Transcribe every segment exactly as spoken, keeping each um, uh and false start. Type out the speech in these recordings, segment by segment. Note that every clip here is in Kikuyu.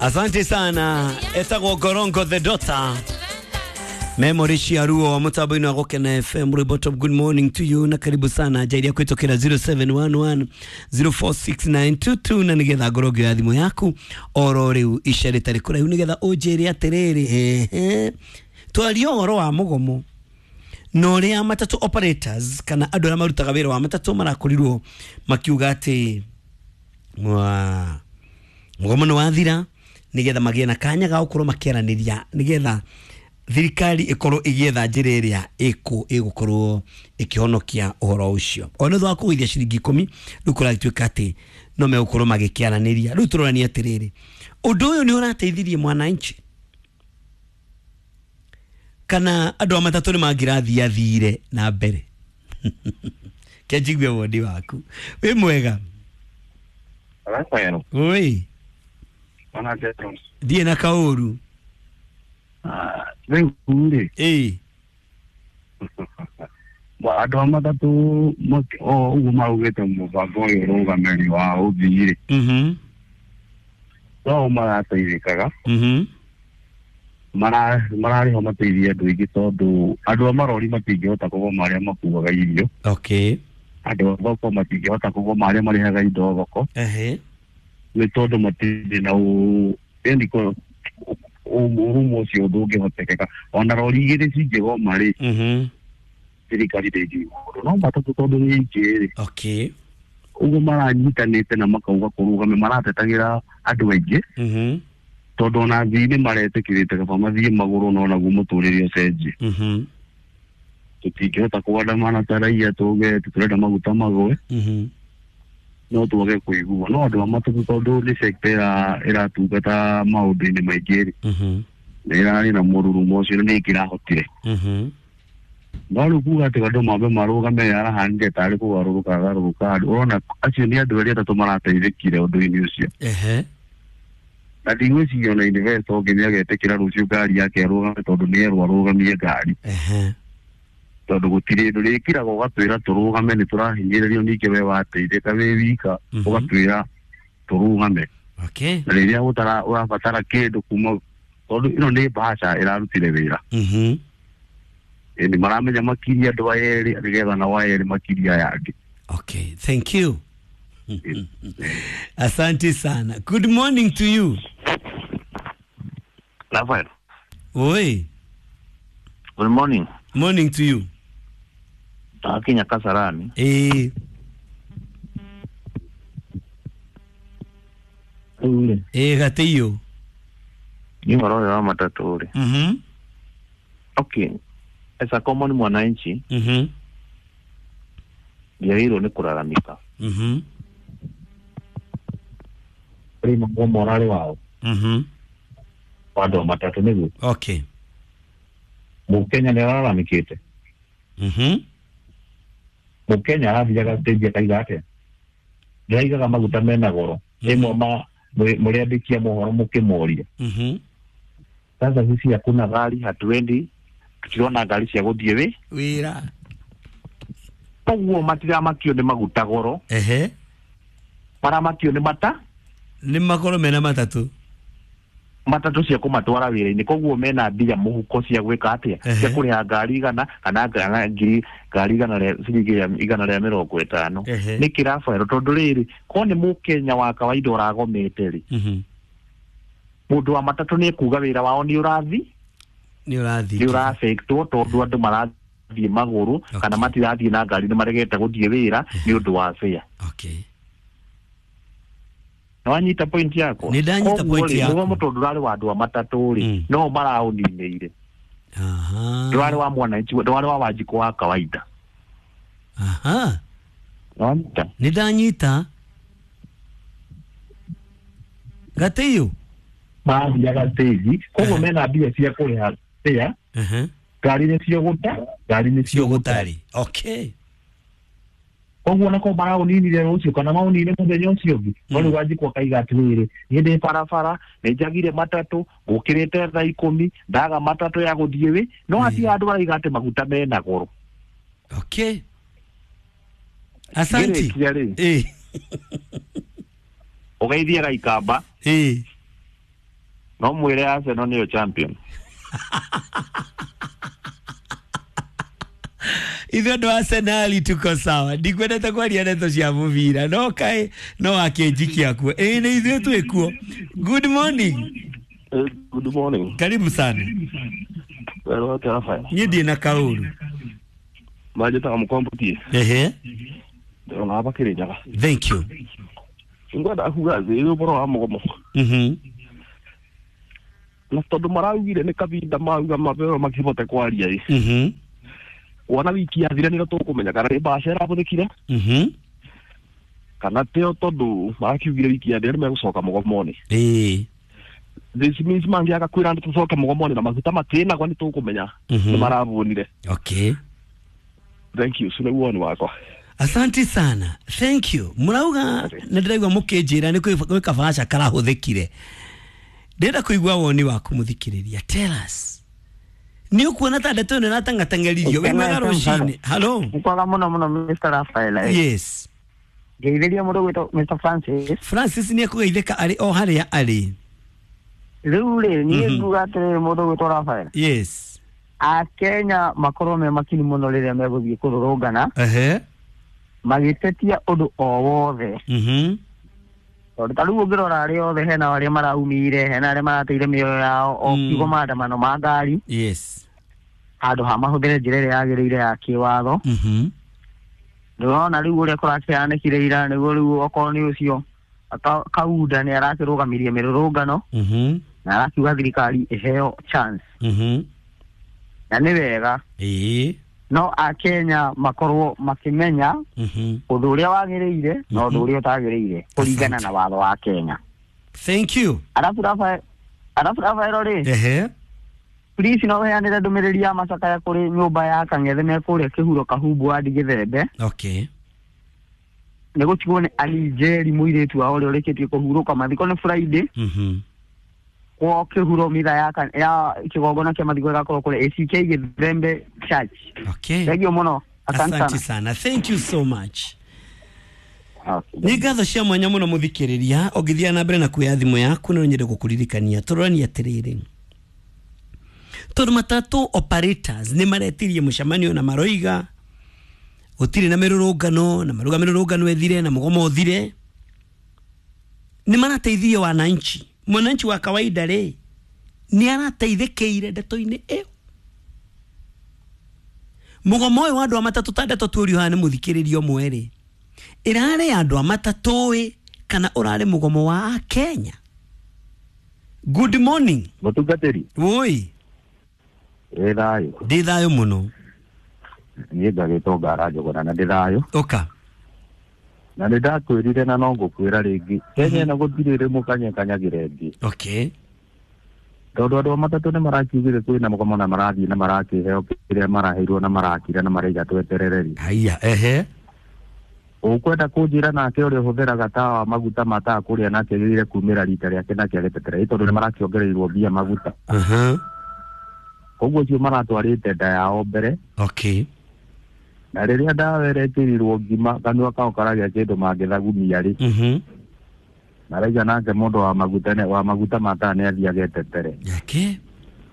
Asante sana. Etagwo Gorongo the daughter. Memory Shiaruo mutambo-inĩ wa Gũkena F M. Rwĩmbo good morning to you na karibu sana njairia kwĩtũkĩra zero seven one one zero four six nine two two na nĩgetha ngorwo ngĩoya thimũ yaku oro rĩu ica rĩtarĩ kũraihu nĩgetha ũnjĩre atĩrĩrĩ, ehe, twarie ũhoro wa mũgomo na ũrĩa matatũ operators kana andũ arĩa marutaga wĩra wa matatũ marakorirwo makiuga atĩ mwa mũgomo nĩ wathira nĩgetha magĩe na kanya ga gũkorwo makĩaranĩria nĩgetha thirikari ikorwo igietha njĩra ĩrĩa ĩkũ ĩgũkorwo ĩkĩhonokia ũhoro ũcio. Ona thutha wa kũgũithia ciringi ikũmi rĩu kũragĩtuĩka atĩ no megũkorwo magĩkĩaranĩria. Rĩu tũroranie atĩrĩrĩ, ũndũ ũyũ nĩ ũrateithirie mwananchi kana andũ a matatũ nĩ mangĩrathiathire na mbere? Kenjigue woni waku. Wĩ mwega? Rafael. Oi. Ona Jetro. Thiĩ na kaũru. Ah, rĩu rĩ. Ĩĩ. Ba andũ a matatũ o ũguo maugĩte mũbango ũyũ ũrũgamĩrĩri wa ũthii rĩ. Mhm. No marateithĩkaga. Mhm. Mara mararĩho mateithie andũ aingĩ tondũ andũ a marori matingĩhota kũgoma arĩa makuaga irio. Okay. Andũ a thoko matingĩhota kũgoma arĩa marĩhaga indo thoko. Ehe. Nĩ tondũ matirĩ na ũ yani ko ũrumo ũcio ndũngĩhotekeka. Ona rori igĩrĩ cingĩgoma rĩ, Mhm. thirikari ndĩngiuga ũndũ. No matatũ tondũ nĩ aingĩ rĩ. Okay. Ũguo maranyitanĩte na makauga kũrũgame maratetagĩra andũ aingĩ. Mhm. Tondũ ona athii nĩ maretĩkĩrĩte kaba mathiĩ magũrũ no naguo mũtũrĩre ũcenjie. Mhm. Tũtingĩhota kũandamana ta raia tuge tũrenda maguta magũe. Mhm. No twage kũigua. No andũ a matatũ tondũ nĩ sector ĩra ĩratungata maũndũ-inĩ maingĩ rĩ. Mhm. Nĩ ĩrarĩ na mũrurumo ũcio na nĩ ĩngĩrahotire. Mhm. No rĩu kuga atĩ andũ mambe marũgame arahanire tarĩ kũgarũrũka agarũrũka andũ. Ũrona acio nĩ andũ erĩ atatũ marateithĩkire ũndũ-inĩ ũcio. Ehe. Na ndigwĩciria ona investor ũngĩ nĩ agetĩkĩra rũciũ ngari yake arũgame tondũ nĩ erwo arũgamie ngari. Ehe. Tondũ gũtirĩ ũndũ rĩkiraga ũgatwĩra tũrũgame nĩ tũrahinyĩrĩrio ningĩ we wateithĩka wĩ wika ũgatwĩra tũrũgame. Okay. Na rĩrĩa ũtara ũrabatara kĩndũ kuma tondũ ĩno nĩ mbaca ĩrarutire wĩra. Mhm. Ĩni maramenya makiria andũ aya erĩ nĩgetha nao aya erĩ makiria aya angĩ. Okay, thank you. Asante sana. Good morning to you. Rafael. Oi. Good morning. Morning to you. Takinya Kasarani. Eh. Ule. Eh, gatiyo. Ni ũhoro wa matatũ rĩ. Mhm. Okay. As a common mwananchi. Mhm. Ndiagĩrĩirwo nĩ kũraramika. Mhm. Rĩ mũgomo ũrarĩ wao. Mhm. Wa andũ a matatũ nĩguo. Okay. Mũkenya nĩ araramikĩte. Mhm. Mũkenya arathiaga stage akaiga atĩa? Ndĩraigaga maguta mena goro. Ĩmwe ma mũrĩandĩkia mohoro mũkĩmoria. Mhm. Sasa sisi hakuna gari, hatuendi, tutirona ngari cia gũthiĩ wĩ wĩra. Koguo matiramakio nĩ maguta goro. Ehe. Maramakio nĩ mata nĩ makorwo mena matatũ matatũ cia kũmatwara wĩra-inĩ. Koguo mena mbia mũhuko cia gwĩka atĩa? Cia kũrĩha ngari igana kana ngiri ngari igana rĩa ciringi igana rĩa mĩrongo ĩtano. Nĩ kĩrabaero tondũ rĩrĩ ko nĩ mũkenya wa kawaida ũragomete rĩ. Mhm. Mũndũ wa matatũ nĩ ekuga wĩra wao nĩ ũrathi nĩ ũrathi nĩ ũrafectwo tondũ andũ marathiĩ magũrũ kana matirathiĩ na ngari nĩ maregete gũthiĩ wĩra nĩ ũndũ wa fare. Okay. Na wanyita point yakwa? Nĩ ndanyita point yakwa. Mũgomo tondũ ndũrarĩ wa andũ a matatũ rĩ no maraũninĩire. Aha. Ndũrarĩ wa mwananchi, ndũrarĩ wa Wanjikũ wa kawaida. Aha. Wanyita? Nĩ ndanyita. Gatiyo. Mathiaga stage koguo mena mbia cia kũrĩha fare. Mhm. Ngari nĩ cio gũta, ngari nĩ cio gũtarĩ. Okay. Koguo nako maraũninire rũciũ kana maũnine mũthenya ũcio ũngĩ. No rĩu Wanjikũ akaiga atĩrĩrĩ, niĩ ndĩ barabara nĩ njagire matatũ ngũkĩrĩte thaa ikũmi ndaga matatũ ya gũthiĩ wĩ no hatirĩ andũ maraiga atĩ maguta mena goro. Okay. Asante. Ngĩrĩkia rĩ. Eh. Ũgeithie Gaikamba. Eh. No mwĩre Arsenal nĩyo champion. Ithuĩ andũ a Arsenal tuko sawa. Ndikwendete kwaria ndeto cia mũbira no kaĩ no akĩnjikia kuo. Ĩĩ nĩ ithuĩ twĩ kuo. Good morning. Good morning. Karibu sana. Wero atĩa Rafael? Niĩ ndirĩ na kaũru. Manjĩtaga Mũkombotie. Ehe. Ndĩrona hapa Kĩrĩnyaga. Thank you. Ngwenda kuga thĩ ũhoro wa mũgomo. Mhm. Na tondũ maraugire nĩ kavinda mauga mabeo makĩhote kwaria ĩ. Mhm. Wona wiki yathira nĩrĩo tũkũmenya kana nĩ mbaca ĩrahũthĩkire. Mhm. Kana tĩo tondũ marakiugire wiki yathira nĩ megũcoka mũgomo-inĩ. Ĩĩ. This means mangĩaga kwĩra nĩ tũcoke mũgomo-inĩ na maguta matĩnagwo nĩ tũkũmenya nĩ maravũnire. Okay. Thank you. Ũcio nĩguo woni wakwa. Asante sana. Thank you. Murauga nĩ ndĩraigua mũkĩnjĩra nĩ kwĩ kabaca karahũthĩkire. Ndĩrenda kũigua woni waku mũthikĩrĩria. Tell us. Nĩ ũkuona ta ndeto ĩno ĩratang'atang'eririo. Wĩ mwega rũcinĩ. Hello. Nĩkwega mũno mũno Mister Raphael. Yes. Ngeithĩria mũndũ ũgwĩtwo Mister Francis. Francis nĩ ekũgeithĩka arĩ o harĩa arĩ. Rĩu rĩ niĩ nguga atĩrĩrĩ mũndũ ũgwĩtwo Raphael. Yes. Akenya makorwo me makini mũno rĩrĩa megũthiĩ kũrũrũngana. Ehe. Magĩtetia ũndũ o wothe. Mhm. Tondũ ta rĩu ũngĩrora arĩa othe hena arĩa maraumire, hena arĩa marateire mĩoyo yao o kiugo maandamano ma ngari. Yes. Handũ ha mahũthĩre njĩra ĩrĩa yagĩrĩire ya kĩwatho. Mhm. Ndĩrona rĩu ũrĩa kũrakĩhanĩkire ira nĩguo rĩu okorwo nĩ ũcio Kaunda nĩ arakĩrũgamirie mĩrũrũngano. Mhm. Na arakiuga thirikari ĩheo chance. Mhm. Na nĩ wega. Ĩĩ. No akenya makorwo makĩmenya ũndũ ũrĩa wagĩrĩire na ũndũ ũrĩa ũtagĩrĩire kũringana na watho wa Kenya. Thank you. Arabu Rafael, arabu Rafael rĩ. Ehe. Please no heanĩre ndũmĩrĩri ya macakaya kũrĩ nyũmba ya Kang'ethe me kũrĩa Kĩhuro Kahumbu wadi Gĩthembe. Okay. Nĩ gũtigwo nĩ Alijeri mũirĩtu wao ũrĩa ũrĩkĩtie kũhurũka mathiko nĩ Friday. Mhm. Kwa Kĩhuro mitha ya ya kĩgongona kĩa mathiko gĩgakorwo kũrĩa A C K Gĩthembe Church. Okay. Thank you mũno. Asante sana. Sana. Thank you so much. Nĩ ngatho cia mwanya mũno mũthikĩrĩria ũngĩthiĩ na mbere na kuoya thimũ yaku no nyende gũkũririkania tũroranie atĩrĩrĩ. Tondũ matatũ operators nĩ maretirie mũcemanio na maroiga gũtirĩ na mĩrũrũngano na maruga mĩrũrũngano ĩthire na mũgomo ũthire nĩ marateithia wananchi. Mwananchi wa kawaida rĩ nĩ arateithĩkĩire ndeto-inĩ ĩyo. Mũgomo ũyũ wa andũ a matatũ ta ndeto tuorio haha nĩ mũthikĩrĩria ũmwe rĩ ĩrarĩ andũ a matatũ ĩ kana ũrarĩ mũgomo wa Kenya. Good morning. Mũtungatĩri. Woi. Ĩ thayũ. Ndĩ thayũ mũno. Niĩ ngagĩtwo Ngara Njũgũna na ndĩ thayũ. Ũka. Na nĩ ndakwĩrire na no ngũkwĩra rĩngĩ Kenya ĩno gũtirĩ rĩ mũkanyakanyagĩra ĩngĩ. Okay. Tondũ andũ a matatũ nĩ marakiugire kwĩna mũgomo na marathiĩ na marakĩheo kĩrĩa maraheirwo na marakira na maraiga tweterere rĩ. Haiya, ehe. Ũkwenda kũnjĩra nake ũrĩa ũhũthĩraga tawa maguta ma tawa kũrĩa nake agĩrĩire kumĩra rita rĩake nake agĩtetere tondũ nĩ marakĩongereirwo mbia maguta. Aha. Koguo acio maratwarĩte nda yao mbere. Okay. Na rĩrĩa ndawa ĩrekĩrirwo ngima kanua kao karagĩa kĩndũ mangĩthagumia rĩ. Mhm. Maraiga nake mũndũ wa maguta nĩ wa maguta ma tawa nĩ athiĩ agetetere. Okay.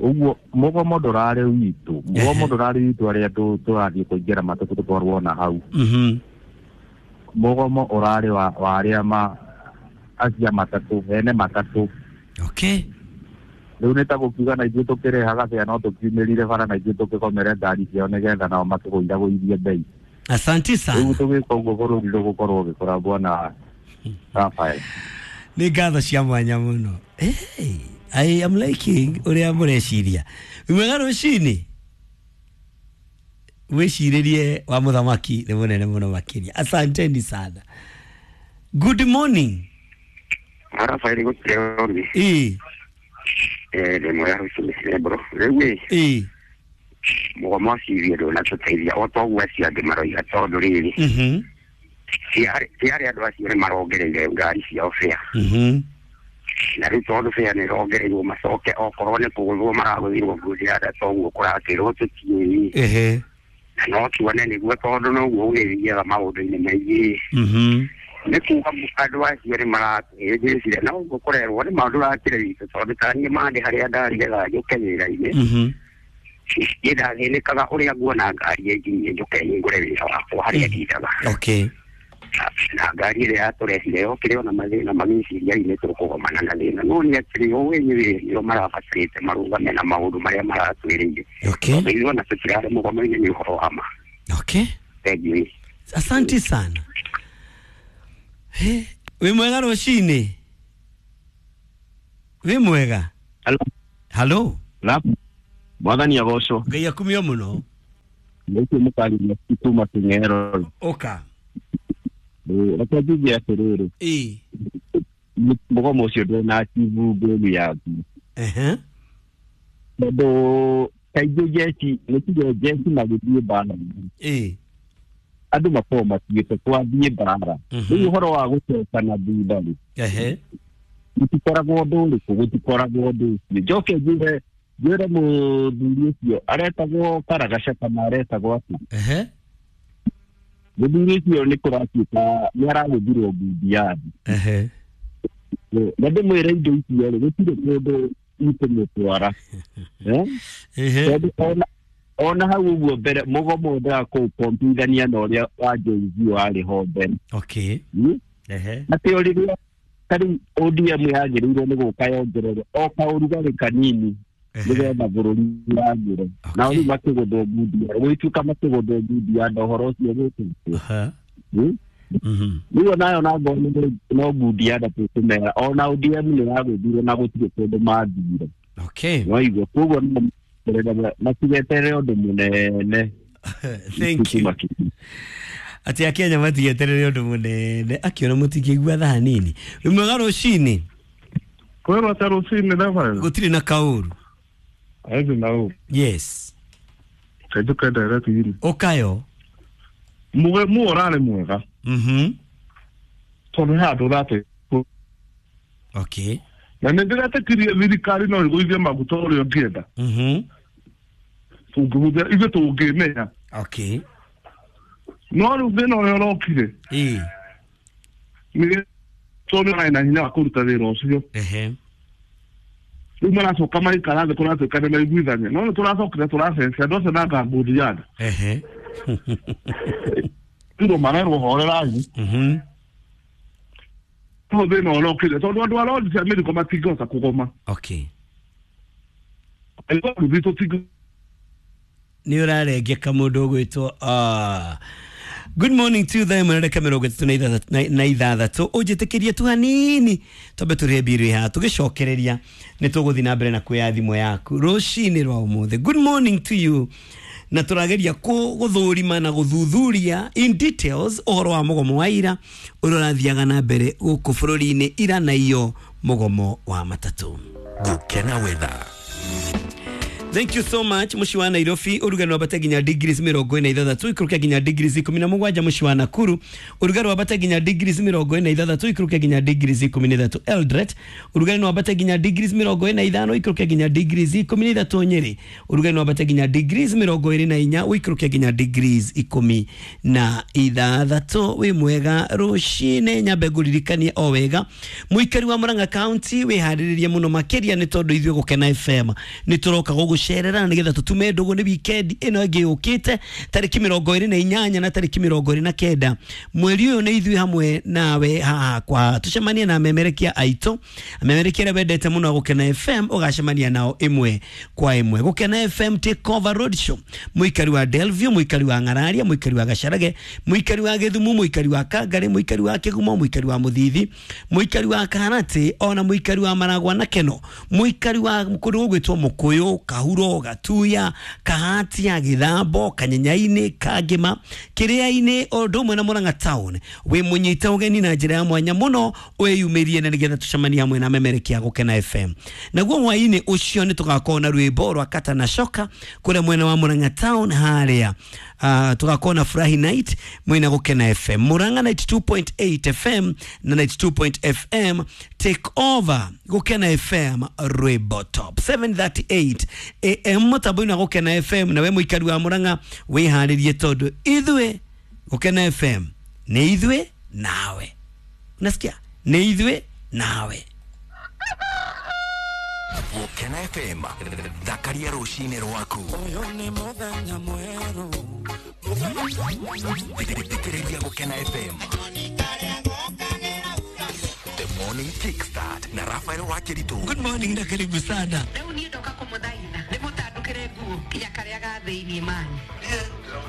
Ũguo mũgomo ndũrarĩ witũ. Mũgomo ndũrarĩ witũ arĩa tũrathiĩ kũingĩra matatũ tũtwarwo na hau. Mhm. Mũgomo ũrarĩ wa wa arĩa ma acia matatũ ene matatũ. Okay. Rĩu nĩ ta gũkiuga na ithuĩ tũkĩrehaga bĩa no tũkiumĩrire bara na ithuĩ tũkĩgomere ngari ciao nĩgetha nao makĩgũithagũithie bei. Asante sana. Rĩu tũgĩka ũguo bũrũri ndũgũkorwo ũgĩkũra bwana Rafael. Nĩ ngatho cia mwanya mũno. Hey, I am liking ũrĩa mũreciria. Wĩmwega rũcinĩ. Wĩcirĩrie wa mũthamaki nĩ mũnene mũno makĩria. Asanteni sana. Good morning. Rafael gũtirĩ. Ĩĩ. Eh, ndĩ mwega rũcinĩ bro. Rĩu ĩ. Ĩĩ. Mũgomo ũcio ndũnatũteithia o toguo acio angĩ maroiga tondũ rĩrĩ. Mhm. Ti arĩa andũ acio nĩ marongereire ngari ciao bĩa. Mhm. Na rĩu tondũ bĩa nĩ ĩrongereirwo macoke okorwo nĩ kũgũthwo maragũthirwo ngundi toguo kũrakĩrwo tũtiũĩ. Ehe. Na no tuone nĩguo tondũ noguo gũgĩthiaga maũndũ-inĩ maingĩ. Mhm. Nĩ kuga andũ acio nĩ maratũhĩngĩcire na ũguo kũrerwo nĩ maũndũ rakĩre witũ tondũ ta niĩ mandĩ harĩa ndarĩ getha njũke wĩra-inĩ. Mhm. Niĩ ndathĩnĩkaga ũrĩa nguona ngari ĩnginyie njũke hingũre wĩra wakwa harĩa ndindaga. Okay. Na ngari ĩrĩa yatũrehire yokire ona mathĩna magĩciria inĩ tũkũgomana na thĩna no nĩ atĩrĩ o wenyewe nĩo marabatarĩte marũgame na maũndũ marĩa maratwĩrĩire. Okay. Tondũ ithuĩ ona tũtirarĩ mũgomo-inĩ nĩ ũhoro wa ma. Okay. Thank you. Asante sana. He, wĩ mwega rũcinĩ? Wĩ mwega? Hello. Hello. Mwathani agocwo. Ngai akumio mũno. Nĩkĩo mũkarĩria kuma Kĩng'ero. Ũka. Reke njuge atĩrĩrĩ. Ĩĩ. Mũgomo ũcio ndũna achieve goal yaku. Ehe. Tondũ kaingĩ jeshi nĩ tuge jeshi magĩthiĩ mbara. Ĩĩ. Andũ makoragwo matuĩte twathiĩ mbara. Rĩu ũhoro wa gũcoka na thutha rĩ. Ehe. Gũtikoragwo ũndũ ũrĩkũ, gũtikoragwo ũndũ ũcio. Njoke njuge njĩre mũthuri ũcio aretagwo Karagaca kana aretagwo atĩa. Ehe. Mũthuri ũcio nĩ kũratuĩka nĩ aragũthirwo ngundi yathi. Ehe. Na ndĩmwĩre indo icio rĩ gũtirĩ kũndũ ikũmũtwara. Tondũ ona ona hau ũguo mbere mũgomo wendaga kũũkombithania na ũrĩa wa Jay Z warĩ ho mbere. Okay. Ehe. Atĩ o rĩrĩa ta rĩu O D M yagĩrĩirwo nĩ gũka yongerere o kaũrugarĩ kanini nĩgetha bũrũri wagĩre. Nao rĩu makĩgũthwo ngundi gũgĩtuĩka makĩgũthwo ngundi ya ũhoro ũcio gũkĩte. Rĩu onayo na ngoro no ngundi ya nda tũkũmera ona O D M nĩ yagũthire na gũtirĩ kũndũ mathire. Okay. Waigua koguo no matigeterere ũndũ mũnene. Thank you. Ati akenya matigeterere ũndũ mũnene akiona mũtingĩigua thaa nini. Wĩ mwega rũcinĩ? Kwĩrwo atĩa rũcinĩ Reverend? Gũtirĩ na kaũru. Aithi na ũũ. Yes. Kajuke direct yini. Ũkayo. Muge mu ũrarĩ mwega. Mhm. Tondũ he andũ ũrate. Okay. Na nĩ ndĩretĩkirie thirikari no ĩgũithie maguta ũrĩa ũngĩenda. Mhm. Tũngĩhũthĩra ithuĩ tũngĩmenya. Okay. No rĩu thĩna ũrĩa ũrokire. Ĩĩ. Nĩ tondũ nĩ na hinya wa kũruta wĩra ũcio. Ehe. Rĩu maracoka maikara thĩ kũratuĩka nĩ maiguithania. No nĩ tũracokire tũracenjia andũ acio na ngambũndi yanda. Ehe. Rĩu marerwo horerai. Mhm. No thĩna ũrokire tondũ andũ a rori cia mĩrigo matingĩhota kũgoma. Okay. Rũthi tũtingĩ Nĩ ũrarengeka mũndũ ũgwĩtwo ah. Good morning to them na mĩrongo ĩtatũ na ithathatũ ũnjĩtĩkĩrie tu hanini twambe tũrĩhe mbiru haha tũgĩcokereria nĩ tũgũthiĩ na mbere na kuoya thimũ yaku rũcinĩ rwa ũmũthĩ. Good morning to you. Na tũrageria gũthũrima na gũthuthuria in details ũhoro wa mũgomo wa ira ũrĩa ũrathiaga na mbere gũkũ bũrũri-inĩ ira na iyo mũgomo wa matatũ. Gũkena weather. Thank you so much muci wa Nairobi ũrugarĩ wambate nginya degrees mĩrongo ĩna ithathatũ ikũrũke nginya degrees ikũmi na mũgwanja muci wa Nakuru ũrugarĩ wambate nginya degrees mĩrongo ĩna ithathatũ ikũrũke nginya degrees ikũmi na ithatũ Eldoret ũrugarĩ wambate nginya degrees mĩrongo ĩna ithano ikũrũke nginya degrees ikũmi na ithatũ Nyeri ũrugarĩ wambate nginya degrees mĩrongo ĩrĩ na inya ũikũrũke nginya degrees ikũmi na ithathatũ. Wĩ mwega rũcinĩ nyambe ngũririkanie o wega mũikari wa Murang'a County wĩharĩrĩrie mũno makĩria nĩ tondũ ithuĩ Gũkena F M nĩ tũroka gũgũ cerera nĩgetha tũtume ndũgũ nĩ weekend ĩno ĩngĩ yũkĩte tarĩki mĩrongo ĩrĩ na inyanya na tarĩki mĩrongo ĩrĩ na kenda mweri ũyũ nĩ ithuĩ hamwe nawe haha kwa tũcemanie na amemerekia aitũ amemerekia arĩa wendete mũno Gũkena F M ũgacemania nao ĩmwe kwa ĩmwe. Gũkena F M take over road show mũikari wa Delview mũikari wa Ng'araria mũikari wa Gacarage mũikari wa Gĩthumu mũikari wa Kangari mũikari wa Kĩgumo mũikari wa Mũthithi mũikari wa Kaharati ona mũikari wa Maragwa na Keno mũikari wa kũndũ gũgwĩtwo Mũkũyũ Kahuro Gatuya Kahatia Githambo Kanyenyaini Kangima Kiriaini ũndũ ũmwe na Murang'a town wĩ mũnyite ũgeni na njĩra ya mwanya mũno wĩyumĩrie na nĩgetha tũcemanie hamwe na amemerekia Gũkena F M. Naguo hwaĩ-inĩ ũcio nĩ tũgakorwo na rwĩmbo rwa Kata na Shoka kũrĩa mwena wa Murang'a town harĩa uh, tũgakorwo na Furahi Night mwena Gũkena F M Murang'a ninety two point eight F M na ninety two point F M take over Gũkena F M rwĩmbo top seven thirty eight A M mũtambo-inĩ wa Gũkena F M. Nawe mũikari wa Murang'a wĩharĩrie tondũ ithuĩ Gũkena F M nĩ ithuĩ nawe. Unasikia? Nĩ ithuĩ nawe. Gũkena F M thakaria rũcinĩ rwaku. Ũyũ nĩ mũthenya mwerũ. Thikĩrĩria Gũkena F M. The Morning Kickstart na Rafael Wakiritu. Good morning na karibu sana. Rĩu niĩ ndoka kũmũthaitha ndĩmũtandũkĩre nguo nginya karĩa ga thĩiniĩ mani.